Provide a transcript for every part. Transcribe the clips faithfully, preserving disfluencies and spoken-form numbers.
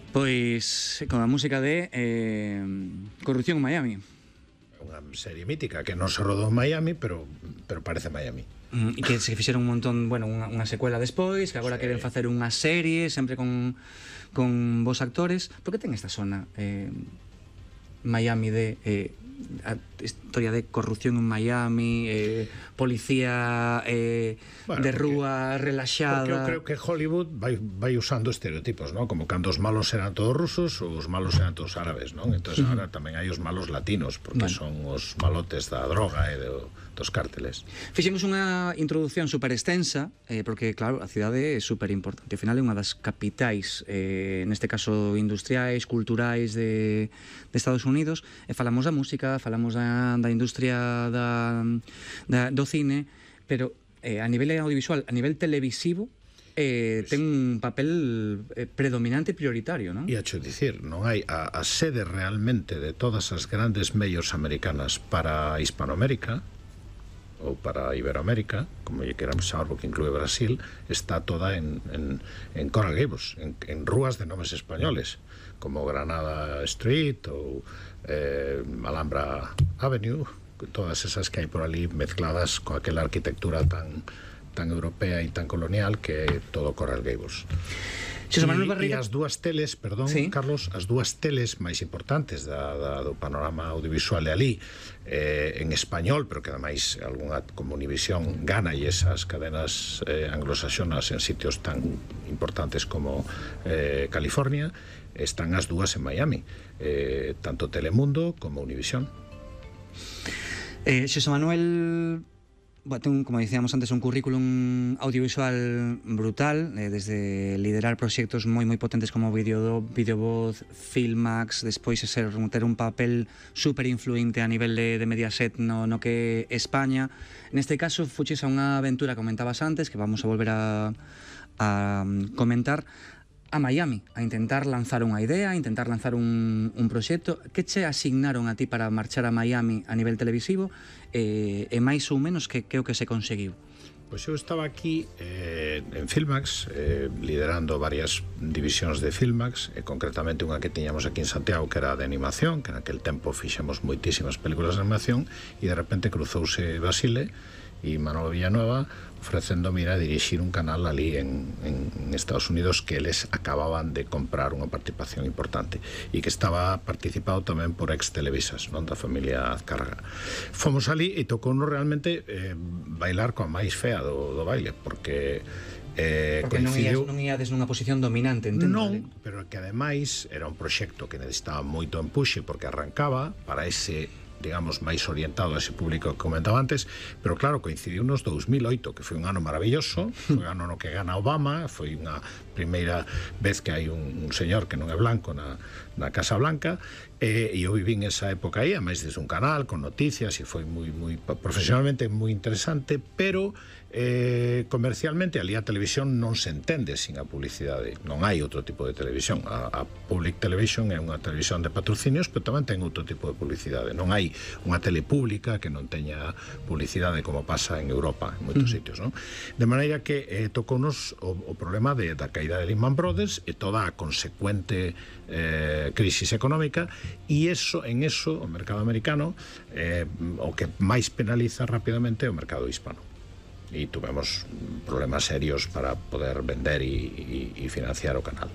Pois con a música de eh, Corrupción en Miami. Unha serie mítica que non se rodou en Miami, pero, pero parece Miami. Mm, e que se fixeron un montón, bueno, unha, unha secuela despois, que agora sí. Queren facer unha serie, sempre con, con vos actores. Por que ten esta zona eh, Miami de... Eh, a historia de corrupción en Miami, eh, policía eh, bueno, de rúa relaxada. Porque eu creo que Hollywood vai, vai usando estereotipos, ¿no? Como cando os malos eran todos rusos ou os malos eran todos árabes, ¿no? Entón, uh -huh. Ahora tamén hai os malos latinos, porque bueno. Son os malotes da droga e de, dos cárteles. Fixemos unha introducción super extensa, eh, porque, claro, a cidade é super importante. Ao final é unha das capitais, eh, neste caso industriais, culturais de, de Estados Unidos, e falamos da música, falamos da, da industria da, da, do cine, pero eh, a nivel audiovisual, a nivel televisivo, eh, ten un papel eh, predominante e prioritario, non? E a cho dicir, non hai a, a sede realmente de todas as grandes medios americanas para Hispanoamérica ou para Iberoamérica, como lle queramos chamar, porque inclúe Brasil, está toda en, en, en Coral Gables, en, en rúas de nomes españoles, como Granada Street ou eh, Alhambra Avenue, todas esas que hai por ali mezcladas con aquela arquitectura tan, tan europea e tan colonial que é todo Coral Gables. E, e as dúas teles, perdón, sí. Carlos, as dúas teles máis importantes da, da, do panorama audiovisual de ali, eh, en español, pero que ademais algunha como Univisión gana e esas cadenas eh, anglosaxonas en sitios tan importantes como eh, California, están as dúas en Miami, eh, tanto Telemundo como Univisión. Eh, Xosé Manuel... Bueno, ten, como dicíamos antes, un currículum audiovisual brutal, eh, desde liderar proxectos moi moi potentes como Video, Videovoz, Filmax, despois ser, ter un papel super influente a nivel de, de Mediaset no, no que España. Neste caso, fuches a unha aventura, comentabas antes, que vamos a volver a, a comentar, a Miami, a intentar lanzar unha idea, a intentar lanzar un, un proxecto. Que che asignaron a ti para marchar a Miami a nivel televisivo e, e máis ou menos que, que o que se conseguiu? Pois eu estaba aquí eh, en Filmax, eh, liderando varias divisións de Filmax, e concretamente unha que tiñamos aquí en Santiago, que era de animación, que naquel tempo fixemos moitísimas películas de animación, e de repente cruzouse Basile e Manolo Villanueva ofrecendo ir a dirixir un canal ali en, en Estados Unidos que eles acababan de comprar unha participación importante e que estaba participado tamén por ex televisas, non, da familia Azcárraga. Fomos ali e tocounos realmente eh, bailar coa máis fea do, do baile, porque eh, porque coincidiu... non iades nunha posición dominante, entendo? Non, pero que ademais era un proxecto que necesitaba moito empuxe porque arrancaba para ese, digamos, máis orientado a ese público que comentaba antes, pero claro, coincidiu nos dous mil oito, que foi un ano maravilloso, foi un ano no que gana Obama, foi unha primeira vez que hai un, un señor que non é blanco na, na Casa Blanca, e, e eu vivín esa época aí, a máis desde un canal, con noticias, e foi moi, moi profesionalmente moi interesante, pero eh, comercialmente ali a televisión non se entende sin a publicidade, non hai outro tipo de televisión. A, a Public Television é unha televisión de patrocinios, pero tamén ten outro tipo de publicidade. Non hai unha tele pública que non teña publicidade como pasa en Europa, en moitos mm. sitios, non? De maneira que eh, tocounos o, o problema de, da caída de Lehman Brothers e toda a consecuente eh, crisis económica, e eso, en eso o mercado americano eh, o que máis penaliza rapidamente é o mercado hispano, e tuvemos problemas serios para poder vender e, e, e financiar o canal.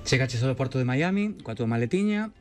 Chegaches ao porto de Miami coa túa maletiña